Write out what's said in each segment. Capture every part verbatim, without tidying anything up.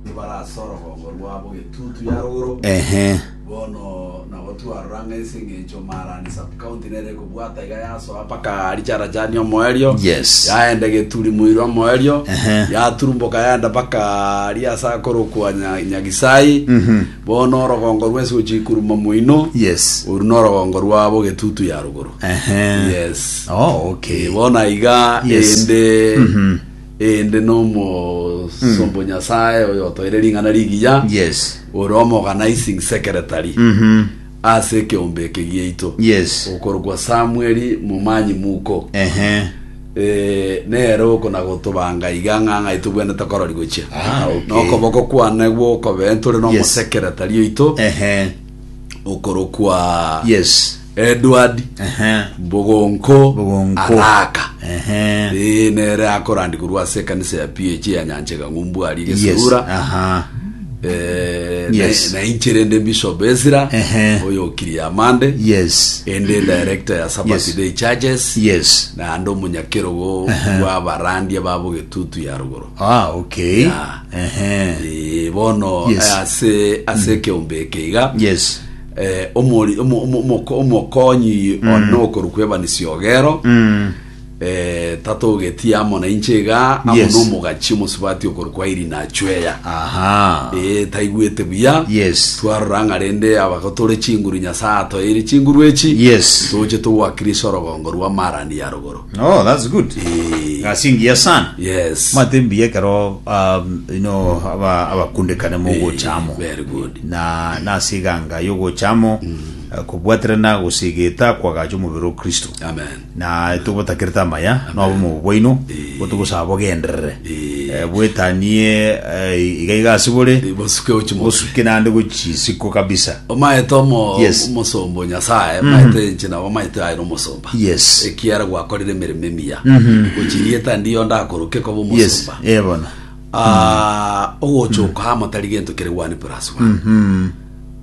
Barasa orogongo rwabo getutu ya rogoro. Ehe. Bono nabo twarora ng'a ase eng'encho Marani sub-county nere ekobwata iga yasoa mpaka Richarachani omoerio. Yes. Yaenda Geturi Muiro omoerio. Ehe. Yaturumboka yaenda mpaka aria ase akorokwa Nya- Nyagisai. Bono orogongo rwensi gochia ikuruma moino. Yes. Oru norogongo rwabo getutu ya rogoro. Ehe. Yes. Oh, okay. Eh, bono iga Yes. ende ende nomosombo Nyasaye oyo otoire ring'ana rigiya. Yes. Ore omoorganizing secretary Mhm. ase ekeombe eke giaito. Yes. Okorokwa Samuel Mumanyi Muko. Ehe. Eh, nere okona gotobanga iga ng'a ng'ai tobwenerete korori gochia. Ah, okay. Nokoboko kwane gwokobe ntore Yes. nomosekretary oito Ehe. okorokwa Yes. Edward Ehe. Bogonko Bogonko. Araka. Ehe. Eh, nere akorandi korwa ase ekanisa ya P H ya Nyanchega ng'umbu aria Yes. Gesurura. Aha. Eh, Yes. na, na inche rende Bishop Ezra Ehe. oyo okiri amande Yes. ende director ya Sabbath Yes. Day Churches Yes. naende omonyakerogo bwa abarandia babo getutu ya rogoro. Ah, okay. Yeah. Ehe. Eh, bono Yes. eh, ase ase ekeombe eke iga Yes. eh, omori- omo- omo- omoko- omokonyi one okorokwa Evanisi Ogero Mm. eh, tatogetie amo na inche iga amo Yes. nomogachi omosubati okorokwa Irina Achweya. Aha. Eh, taigwete buya. Yes. Twarora ng'a rende abako tore chinguru Nyasaye atoeire chinguru echi Yes. toche togwakirisha orogongo rwa Marani ya rogoro. Oh, that's good. Eh, Gasingia sana. Yes. Mate mbiya ekero um, you know aba abakundekane mogochamo. Very good. Na nasiganga yogochamo eh, kobwaterana gosigeta kwagacha omobere o Kristo. Amen. Na tubotakirete amaya nobomo bwaino botogosaba bogenderere. Eh. Eh, bwetanie eh, iga iga ase bore Eh, bosuke ochi bosuke nande gochisiko kabisa. Omaete omo Yes. omosombo Nyasaye maete inche nabo maete aye nomosomba. Yes. Ekiara gwakorire emeremo emiya gochirieta ndiyo ndakoroke koba Yes. omosomba. Eh, bono. Ah, ogocha okohama tari gento kere one plus one.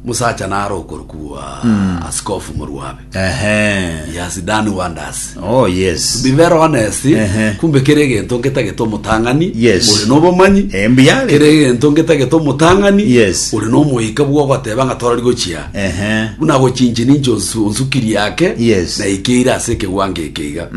Musacha naro okorokwa Askofu Murwabe. Ehe. He has done wonders. Oh, yes. Be very honest. Ehe. Kumbe kere gento ngetagete omotang'ani Yes. ore nobomanyi. Eh, mbuyare. Kere gento ngetagete omotang'ani Yes. ore nomoika bwogoteba ng'a torori gochia Ehe. buna gochinchi ninche onsu- onsukiri yake Yes. na ikeire ase ekegwango eke iga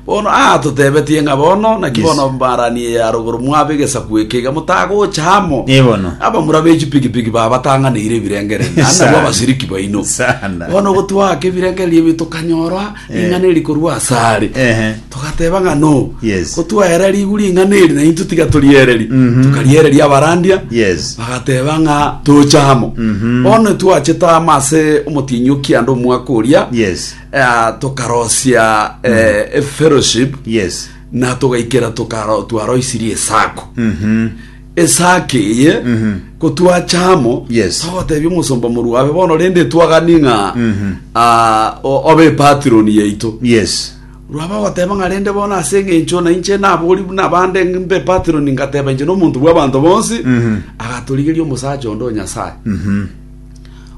bono ah totebetie ng'a bono naki Yes. bono mbarani ya rogoro mwabe egesaku eke iga motagocha amo. Eh, bono. Abamura bechipikipiki babatang'aneire ebirengere nabo Sana. abashiriki baino. Sana. Bono gotwaka ebirengererio ebi tokanyora ring'ana eri korwa asare. Ehe. Togateba ng'a no Yes. gotwaera rigu ring'ana eri naintwe tiga toriereri tukariereria abarandia. Yes. Bagateba ng'a tocha amo. Bono twachete amo ase omotinyi okianda omwaka oria. Yes. Eh, tokarosia eh, e fellowship Yes. na togaikera tukaro twaroisirie esako Mhm. esake eye kotwacha amo. Yes. Togotebia omosomba morwabe bono rende twagani ng'a ah, o- obe patron yaito. Yes. Rwaba goteba ng'a rende bono ase eng'encho na inche nabori buna bande mbe patron ngateba inche nomonto bwa abanto bonsi agatorigeria omosacha onde o Nyasaye.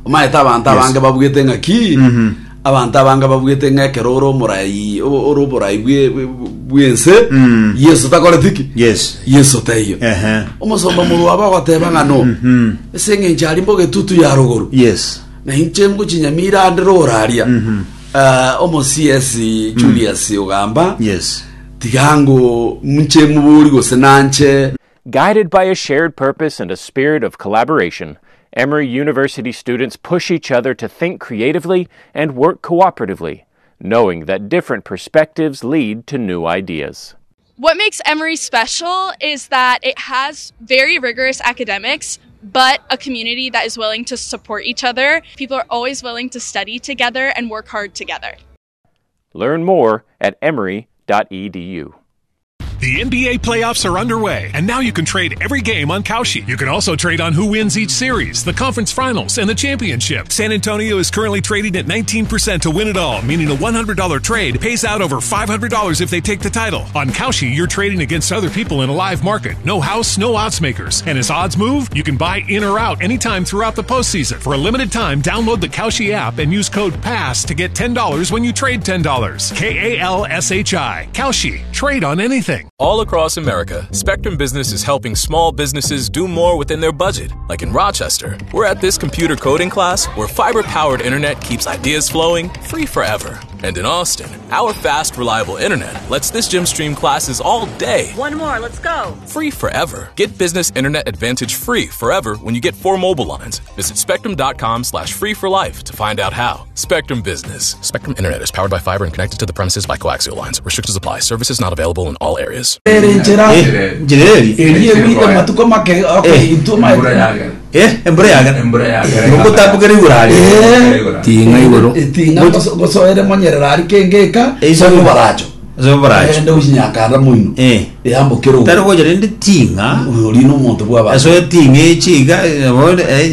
Omaete abanto Yes. abange babugete ng'aki abanto abange babugete ng'a ekero ore omorai o- ore oborai bwe- bwe- bwense Yesu takoreti ki. Yes. Yesu teiyo. Ehe. Omosomba morwaba agoteba ng'a no ase eng'encho ari mbogetutu ya rogoro Yes. na inche ngochinyamira ande roraria uh, omo C S Julius Ogamba Yes. tigango nche muburi gose nanche. Guided by a shared purpose and a spirit of collaboration, Emory University students push each other to think creatively and work cooperatively, knowing that different perspectives lead to new ideas. What makes Emory special is that it has very rigorous academics, but a community that is willing to support each other. People are always willing to study together and work hard together. Learn more at emory dot e d u. The N B A playoffs are underway, and now you can trade every game on Kalshi. You can also trade on who wins each series, the conference finals, and the championship. San Antonio is currently trading at nineteen percent to win it all, meaning a one hundred dollar trade pays out over five hundred dollars if they take the title. On Kalshi, you're trading against other people in a live market. No house, no odds makers. And as odds move, you can buy in or out anytime throughout the postseason. For a limited time, download the Kalshi app and use code PASS to get ten dollars when you trade ten dollars. K A L S H I. Kalshi. Trade on anything. All across America, Spectrum Business is helping small businesses do more within their budget. Like in Rochester, we're at this computer coding class where fiber powered internet keeps ideas flowing free forever. And in Austin, our fast, reliable internet lets this gym stream classes all day. One more, let's go. Free forever. Get business internet advantage free forever when you get four mobile lines. Visit spectrum.com slash free for life to find out how. Spectrum Business. Spectrum Internet is powered by fiber and connected to the premises by coaxial lines. Restrictions apply. Services not available in all areas. Ere nchera Eh, njireri erie gwite matuko make okay intwe Embura maete yagera. eh embura yagera Embura yagera. ngotambukera igoro ari Eh. Tinga igoro. Etinga gosoere monyerera ari kengeka Eh, iso- iso baracho so baracho ende uchinyakara moino eh eyambukira tari goja rende tinga ori nomonto bwa eso tinga echiga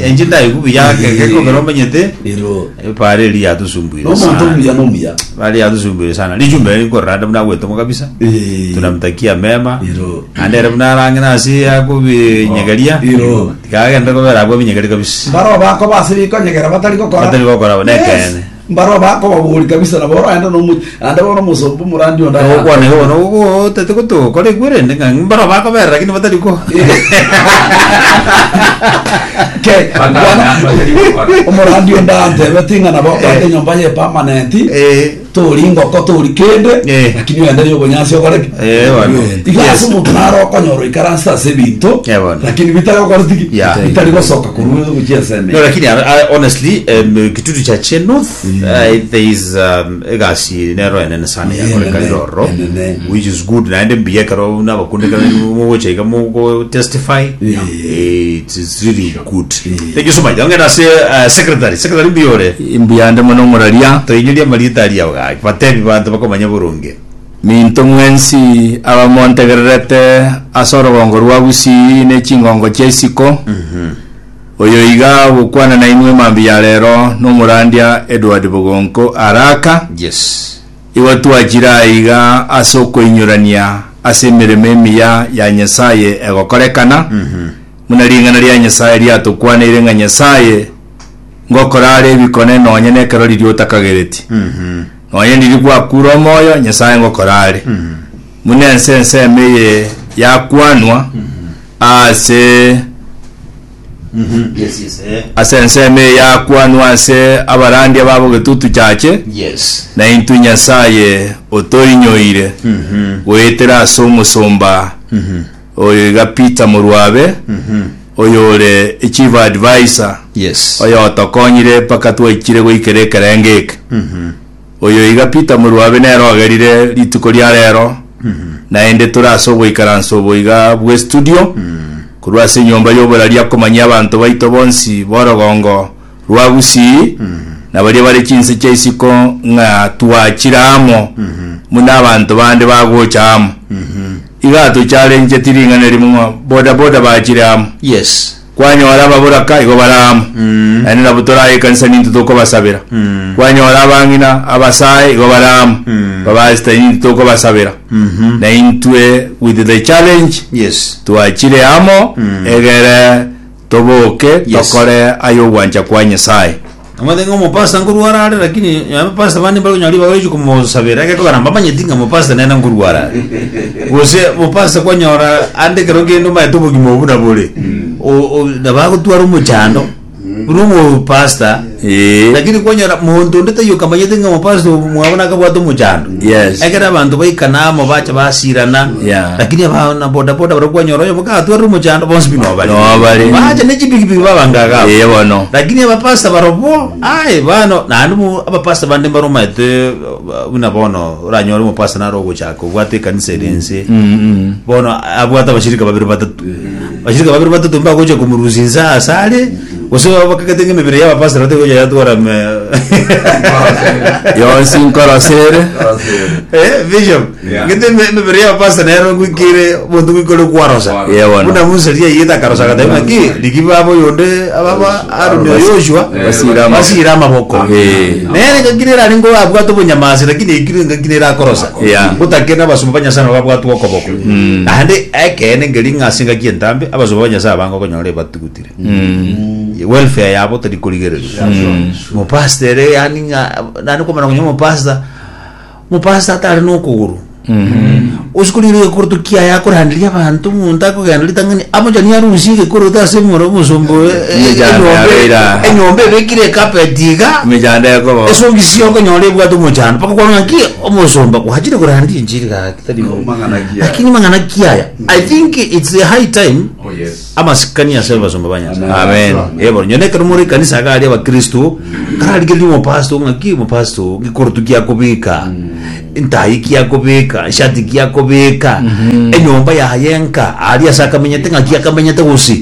enje ndaikubi yakekekogera omanyete ero pare eri yatusumbuire nomonto sana omuya nomuya pare yatusumbuire sana lichumbe likoranda muna gwetomo kabisa Eh. tunamtakia mema Iro. ande ere muna arange nasi akubinyegeria Iro. tikagenda kobera abwo binyegeria kabisa mbaro bako base bikonyegera batari gokora Batari gokora, Yes. nekene. mbaro bako baburi kabisa nabo oroenda nomu ande bono musombu murandi onda okwana igono tete gotokora ekwerende ng'a mbaro bakobera lakini batari ko ke Bana- bwana batari gokora. omurandi onda antebe tinga nabo okande nyomba ye permanent Eh. tori ngoko tori kende Eh. lakini wende yobonyasi okoreki Eh, bono. iga Yes. ase omonto naro okonyora ikaransa ase ebinto Eh, bono. lakini bitari tiki Yeah. bitari gosoka korwa gochia enseme No, lakini uh, uh, honestly um, kitutu cha Chenuth uh, there is um, egasi nero enene sana Yeah, yakoreka enene, iroro enene. which is good naende mbuya ekero nabakundekana mugochaika mugo testify Yeah. Eh, it is really good thank you so much ongera se uh, secretary secretary mbiyore Imbuyande mono muraria toinyoria marita aria gaki batebi bantu bakomanya burunge minto mwensi abamontegererete ase orogongo rwa gusii ne chingongo chia isiko oyo iga gokwana na inwe mambi ya rero nomorandia Edward Bogonko araka yes igo twachira iga ase okoinyurania ase emirimo emiya ya nyasaye egokorekana muna ring'ana ria nyasaye riatokwaneire ng'a nyasaye ngokora are ebikone nonye na ekero riria otakagereti nonye riri gwakura omoyo nyasaye ngokora are muna ense ensemo eye yakwanwa ase yes yes eh. ase ensemo eye yakwanwa ase abarandia babo getutu chache yes na intu nyasaye otoinyoire gwetera ase omusumba oyo iga Peter Murwabe oyo ore chief advisor yes oyo otokonyire mpaka twaichire goikera ekerenge eke oyo iga Peter Murwabe nere ogerire rituko ria rero naende tore ase ogoikaransa obo iga bwe studio korwa ase enyomba ya oboraria akomanyia abanto baito bonsi borogongo rwa gusii na baria bare chinse chia isiko ng'a twachire amo muna abanto bande bagocha amo iga tocharenche tiring'ana rimo ng'a boda boda bachire amo yes kwanyora ababoraka igo baramo naende nabo toraye ekanisa ninto tokobasabera kwanyora abang'ina abasae igo baramo babasita ninto tokobasabera na intwe with the challenge yes twachire amo egere toboke Yes. tokore ayo ogwancha kwa nyasaye amathe ng'o mopasta nkurwara are lakini abapasta bandi bari kunywa ribaga richi kumosabera gekogera mbamanyeti ng'a mopasta nene nkurwara are gose mopasta kwanyora ande kero kende omaete obogima obu nabore nabagotwara omochando buna omopasta Eh. lakini kwanyora monto onde taiyo kamanyete ng'a mopasta mwabo nakabwate omochando Yes. ekero abanto baikanamo bacha basirana Yeah. lakini abana bodaboda baria kwanyora oyo mokatwara omochando bonsi bi nobare Nobare. bacha ne chipikipiki babangagabo Eh, bono lakini abapasta barobo ai bano naende mu abapasta bande baromaete buna bono oranyore omopasta naro ogochaka obwate ekanisa ere ense bono abwate abashirika babiri batatu bashirika babiri batatu mbagocha kumurusia inse ase are gose bakagete ng'a emibere ya abapasta bategocha yatwara me- yonsi nkorosere Eh, bishop Yeah. ngete eme- emibere ya abapasta nero ngwikire omonto ngwikore kwarosa Yeah, bono. buna musa ria yete akarosa agateba ng'aki riki baba oyonde ababa Aaron o Yoshua Basira amaboko. basira amaboko Eh. nere ngaki nere aringo abwate obonyamasi lakini ekire ngaki nere akorosa Yeah. gotake na abasumba ba nyasaye nabo babwate okoboko naende ekene ngeri ng'ase ngaki entambe abasumba ba nyasaye abange okonyora ebatugutire welfare yabo tari korigereria mopasta ere yani ng'a nani komana konya mopasta mopasta atari nokogoro Usikurire gekoroto kiaya akoranderia abanto omonto akogenda ritang'ani amochani arusie gekoroto ase omoro omosombo eh, eh, Emechando enyomba- yabeira. enyomba ebekire ekapeti iga Emechando ekoba. esogisi okonyora ebwate omochando mpaka kwarora ng'aki omosomba gwachire korandia enchiri gaki tari bo. Mang'ana kiaya. Lakini mang'ana kiaya i think it's a high time Oh, yes. amasikani ase abasomba ba Nyasaye. Amen. Ebo nyone ekero more ekanisa iga aria abakristo kararigereria omopasto ng'aki omopasto gekoroto giakobeka ntai kiakobeka eshati kiakobeka enyomba yaye enka aria ase akamenyete ng'aki akamenyete gose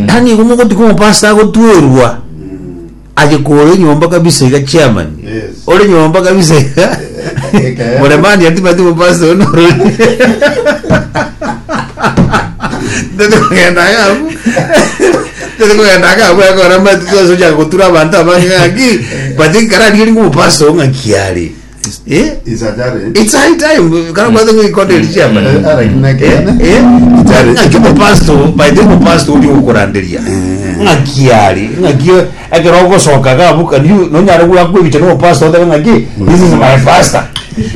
yaani igo mogotika omopasto agotwerwa aye kore enyomba kabisa iga chairman Yes. ore nyomba kabisa iga Eke. muremani atimati mopasto onorori ndikugenda gabu ndikugenda gabu akora matuzo cha gutura abantu abangi ng'aki but kararigeria ng'omopasto ng'aki are eh It's a challenge. it's high time kana kwatha ng'ikonde chairman Eh, lakini nakene. Eh, Challenge. ng'aki omopasto by the way, omopasto uri gukuranderia ng'aki ari ng'aki ekero ogosoka gabu kani nonyare gwakwebicha na omopasto otebe ng'aki this is my pastor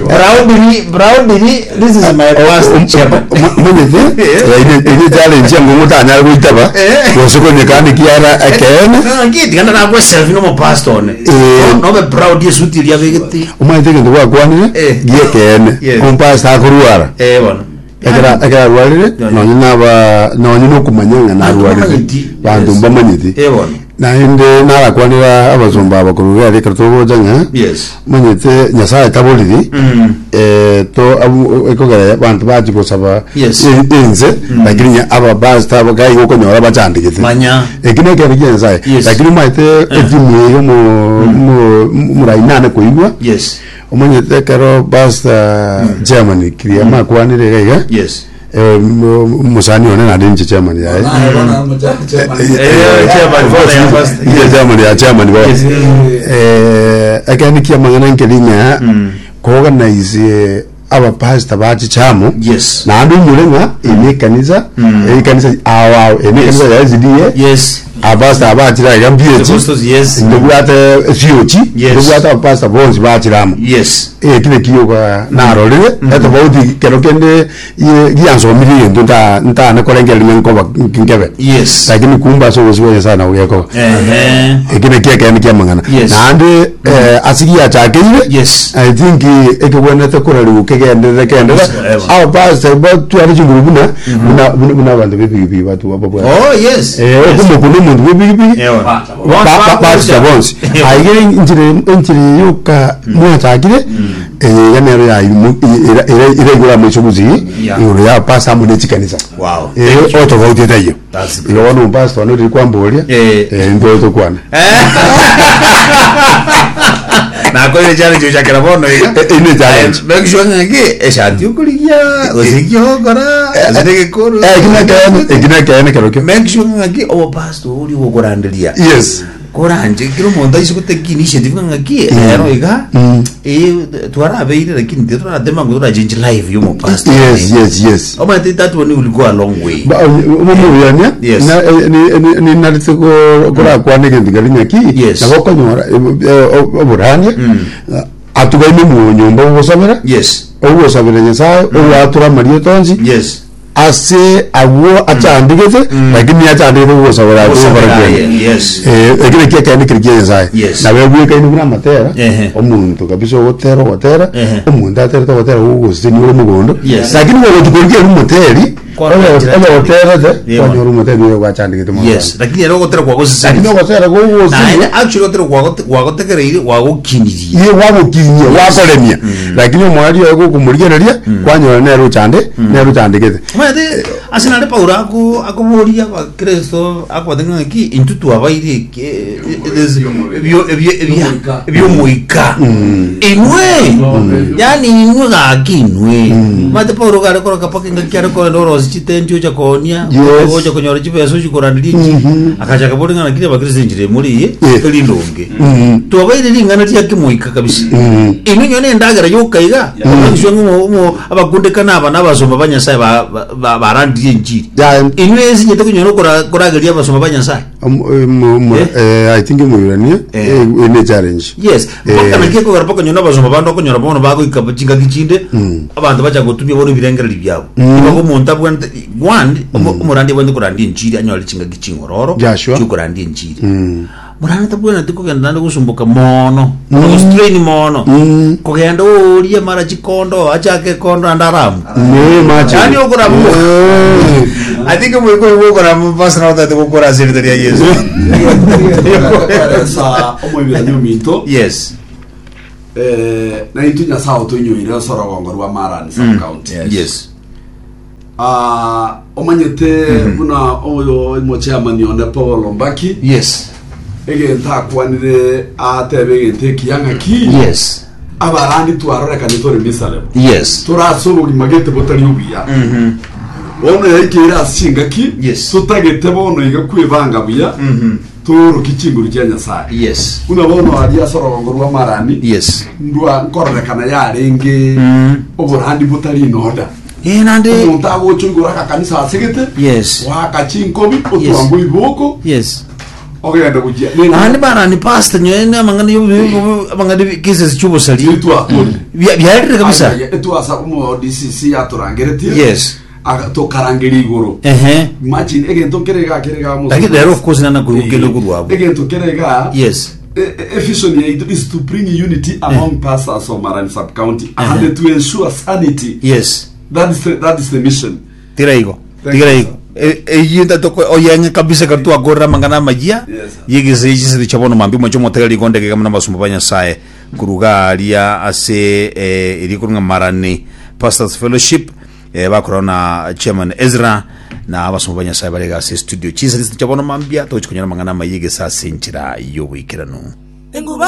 proudly proudly this is my pastor chairman Mwenyete, ine challenge yangu mutanyara kuitaba Eh. gosokonyekani kiara ekene ng'aki tigana nakwe selfie na omopasto one Eh. nobe proud yesuti eria abegete omanyete egento gwakwanire Eh. giekene Yes. omupasta akorwara eh bono ekera ekera arwarire Yeah. nonye naba nonye nokumanya ng'a narwarire bamanyeti. bantu Yes. mbamanyeti eh bono naende narakwanira abasomba abakuru gari ekero togocha ng'a yes manyete nyasaye taboriri Mm. eh, to abu- ekogera bantu bachi gosaba Yes. en- ense lakini nya abapasta gai gokonyora bachandegete manya eki nekero kia nyasaye Yes. lakini omanyete etimu eyo murainane koigwa yes omanyete ekero pasta germany kiria makwanire iga iga yes eh, mu- musani one nande inche chairman yaye Eh, chairman, father ya pastor. Iye chairman ya chairman bo Yes. eh akani kia mangana nkelinya kuorganize abapasta bachichamo yes naende omureng'a ene ekanisa ekanisa awo ene ekanisa ya SDA yes abapasta abachira iga mbieci Apostles, yes ndobwate siochi Yes. ndobwate abapasta bonsi bachiramo yes ekile kiyoka narorire etofauti kero kende ye- giansomirie gento nta- ntanekorengereria nkoba nkebe yes lakini kumba ase obosi bwa nyasaye nabo gekoba ehe ekine kiekene kia mang'ana Yes. naende eh, ase giachakeire yes i think ekebwenete korariwu kegenderere kendere Yes. abapasta batware chinguru buna buna buna- buna abanto b'epikipiki batu bababwate oh yes Eh, okumokuna omonto bw'epikipiki Ewa. bachita bonsi aigere enchire enchire yoka mwachakire eyiga nero iraigura mwiso gusii Yeah. iguru ya pasta amo nechikanisa wow Eh, otofauti etaiyo That's igo bono omupasta one oriri kwamboria Eh. eh, ntwe tokwana nakorire challenge uchakira bono iga Eh, ine challenge. make sure ng'aki eshati okorigia gose kiokora gose negekoro Eh, ekina kene ekina kene kero kio make sure ng'aki omopasto ori gokoranderia yes koranje kero omonto aise gotake initiative ng'aki ero iga Mm. eh twarabeire lakini tituratema ngo turachange life yomopastor yes yes yes omanyete that one will go a long way Ba- omomuyania Yes. ninarete korakwana egento keri ng'aki Yes. nabo okonyora oborania atugaine omonyomba ogosabera yes ogosabera nyasaye ogwatura amaria onsi yes ase agwo achandigete lakini achandigete ogosabera Ogosabera, agwo yes ekere kiekene keri kia nyasaye Yes. nabo egwekaine buna amatera Ehe. omonto kabisa ogotera ogotera Ehe. omonto aterete ogotera ogogosesenia ore mogondo Yes. lakini gogotukoria eri omoteri Kwa- ogoterete Yeah. kwanyora omoteri oyo gwachandikete mono yes lakini ero ogotera lakini kwagosesenia ogotera naende gogosesenia actually ogotera kwagote- gwagotegereire gwagokinirie ye gwagokinyia gwakoremia lakini omwari oyo gokomorigereria kwanyora nere ochande nere ochandikete omanyete ase nare paulo ako akoboria abakristo akobate ng'aki intwe twabaire eke- eh, ebyo- ebyo- ebya- ebyomoika inwe yani inwe gaki inwe omanyete paulo gare koroka paka engaki are korenda orosi chitenti ocha koonia Yes. ocha konyora chibesa ochikoranderia enchiri akachaka bori ng'a lakini abakristo enchiri emori eye Yeah. erindonge Mm. twabaire ring'ana riakimoika kabisa Mm. inwe nyone endagera yokaiga abakundekana aba n'abasomba ba nyasaye ba- ba- ba- barandirie enchiri Ya, inwe esinyete kunyora kora- korageria abasomba ba nyasaye Eh? Eh, I think omoirania Eh. eh, ne challenge. Yes. Eh. Mpaka naki ekogera mpaka nyona abasomba bande okonyora bono bagoika chingaki chinde, abanto bacha gotumia bono ebirengereri biabo. Nigo omonto abwate one, omo- omorandi abwate korandia enchiri anyore chingaki ching'ororo Joshua. chiokorandia enchiri. Morani tabwenereti kogenda naende gosumboka mono, gostrain mono, kogenda orie mara chikondo achake ekondo naende aramu. Ne mache. Yani okoramu. Eh. I think mwiko gukora pastor otete gukora ase erita ria Yesu. Kweresa omoibirani ominto. Yes. Eh, na intu nyasaye otoinyoire ase orogongo rwa Marani sub county. Yes. Ah, omanyete buna oyo omochairman one Paul Mbaki Yes. egento akwanire atebe egento ekiya ng'aki Yes. abarandi twarorekani tore miserable, Yes. torase obogima gete botari obuya bono yaikeire ase chingaki Yes. totagete bono iga kwebanga buya toroki chinguru chia Nyasaye. Yes. Buna bono aria ase orogongo rwa Marani Yes. ndwa nkororekana yarenge oborandi botari inoda. Eh, nande Omonto agocha igoro akakanisa asegete Yes. waka chinkobi otwanga iboko Yes. ogenda gochia Nandi barani pastor nyoene amang'ana yo amang'ana cases chubosali. Nitwakorire. Byarire kabisa. Etwasa omo D C C yaturangeretie. Yes. Aga- tokarangeria igoro. Ehe. Imagine egento kerega kerega mo. Lakini lero of course nana kuigukele kurwabo. Egento kerega. Yes. A vision yaitu is to bring unity among pastors of Marani sub county and to ensure sanity. Yes. That is the, that is the mission. Tira igo. Thank Tira you, igo. Eyinda toko oyenge kabisa katu agorra mangana majia. Yes, sir. Yigise yigise chabono mambi mwacho motega ligonde kama na basumba ba Nyasaye kuruga aria ase eh, iri kurunga Marani Pastors Fellowship, eh, bakora na chairman Ezra na abasumba ba Nyasaye bari ase studio. Chisa chabono mambia tochikunyana mangana mayigisa ase enchera y'obwikirano. Enguba.